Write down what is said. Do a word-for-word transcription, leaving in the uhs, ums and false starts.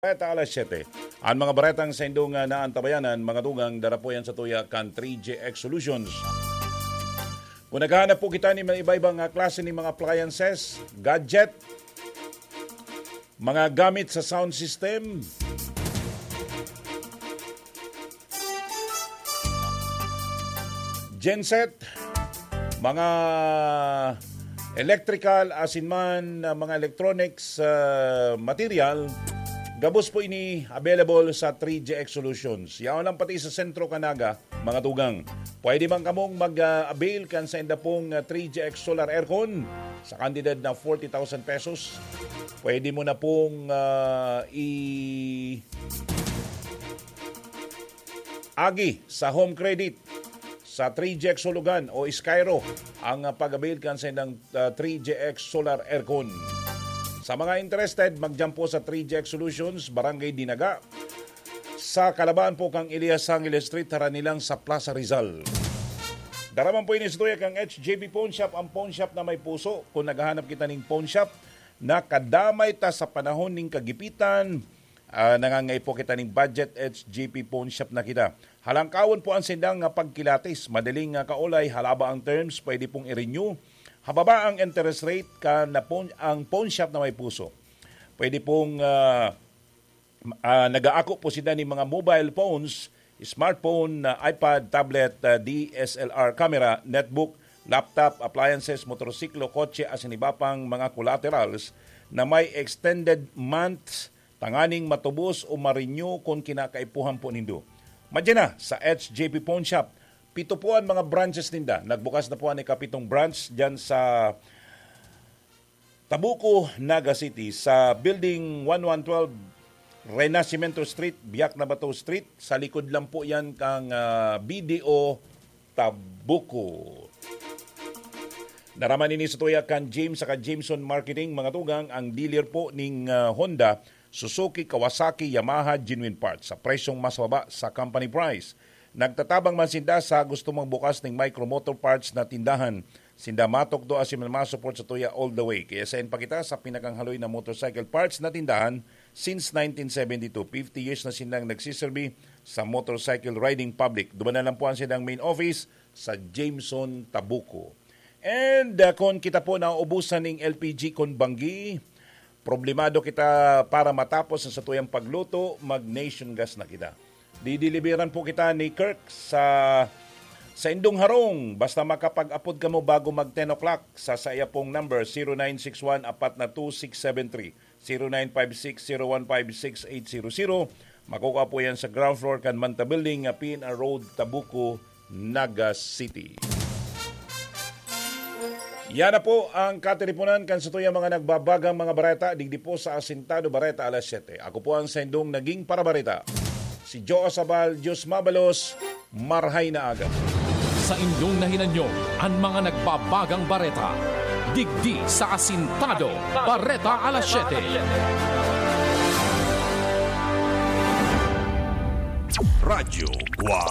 Bareta alas siyete. Ang mga baretang sa indong, ah, naantabayanan, mga tugang, dara po yan sa tuya kan three G X Solutions. Kung naghahanap po kita ni mga iba-ibang, ah, klase ni mga appliances, gadget, mga gamit sa sound system, genset, mga electrical, asin man, ah, mga electronics, ah, material, gabos po ini available sa three G X Solutions. Yaon lang pati sa Sentro Canaga, mga tugang. Pwede man kamong mag, ah, avail kan sainda pong, ah, three G X Solar Aircon sa kantidad na forty thousand pesos. Pwede mo na pong, ah, i- agi sa Home Credit, sa three G X Hulugan o Skyro ang, ah, pag-avail kan sa ilang, ah, three G X Solar Aircon. Sa mga interested, magdyan po sa three G X Solutions, Barangay Dinaga, sa kalabaan po kang Elias Angeles Street, harani lang sa Plaza Rizal. Dara man po ini sa tuya kang H J P Pawn Shop, ang pawn shop na may puso. Kung naghahanap kita ning pawn shop na kadamay ta sa panahon ning kagipitan, ah, nangangaipo kita ning budget, H J P Pawn Shop na kita. Halangkawon po ang sindang nga pagkilatis. Madaling nga kaolay, halaba ang terms, pwede pong i-renew. Hababa ang interest rate kan na pawn, ang pawn shop na may puso. Pwede pong, ah, ah, nag-aako po sila ning mga mobile phones, smartphone, ah, iPad, tablet, ah, D S L R camera, netbook, laptop, appliances, motorsiklo, kotse, asin iba pang mga collaterals na may extended months tanganing matubos o ma-renew kun kinakaipuhan po nindo. Madya na sa H J P Pawn Shop. Pito po ang mga branches ninda. Nagbukas na po ang ikapitong branch dyan sa Tabuco, Naga City, sa Building one one twelve, Renacimiento Street, Biak na Bato Street. Sa likod lang po yan kang, ah, B D O Tabuco. Dara man ini sa tuya kan James saka Jameson Marketing, mga tugang, ang dealer po ning, ah, Honda, Suzuki, Kawasaki, Yamaha, genuine parts sa presyong mas baba sa company price. Nagtatabang man sinda sa gusto magbukas ning micro motor parts na tindahan. Sinda matukdo asin man ma-support sa tuya all the way. Kaya sain pa kita sa pinakang haloy na motorcycle parts na tindahan since nineteen seventy-two. Fifty years na silang nagsiserbi sa motorcycle riding public. Duman na lang po ang silang main office sa Jameson, Tabuco. And, uh, kung kita po nauubusan ning L P G kon banggi, problemado kita para matapos ang satuyang pagluto, mag-Nation Gas na kita. Dideliveran po kita ni Kirk sa, sa indong harong. Basta makapag-apod kamo bago mag ten o'clock sa saya pong number, zero nine six one apat na two six seven three, zero nine five six zero one five six eight zero zero. Makukuha po yan sa ground floor kan Manta Building, ah, P N R Road, Tabuco, Naga City. Yan na po ang katiriponan kan satuyang mga nagbabagang mga bareta digdi po sa Asintado Bareta Alas Siyete. Ako po ang saindong naging parabareta, si Joe Sabal. Diyos mabalos, marhay na aga. Sa indong nahinanyo, ang mga nagbabagang bareta, digdi sa Asintado Bareta Alas Siyete. Radyo Guam.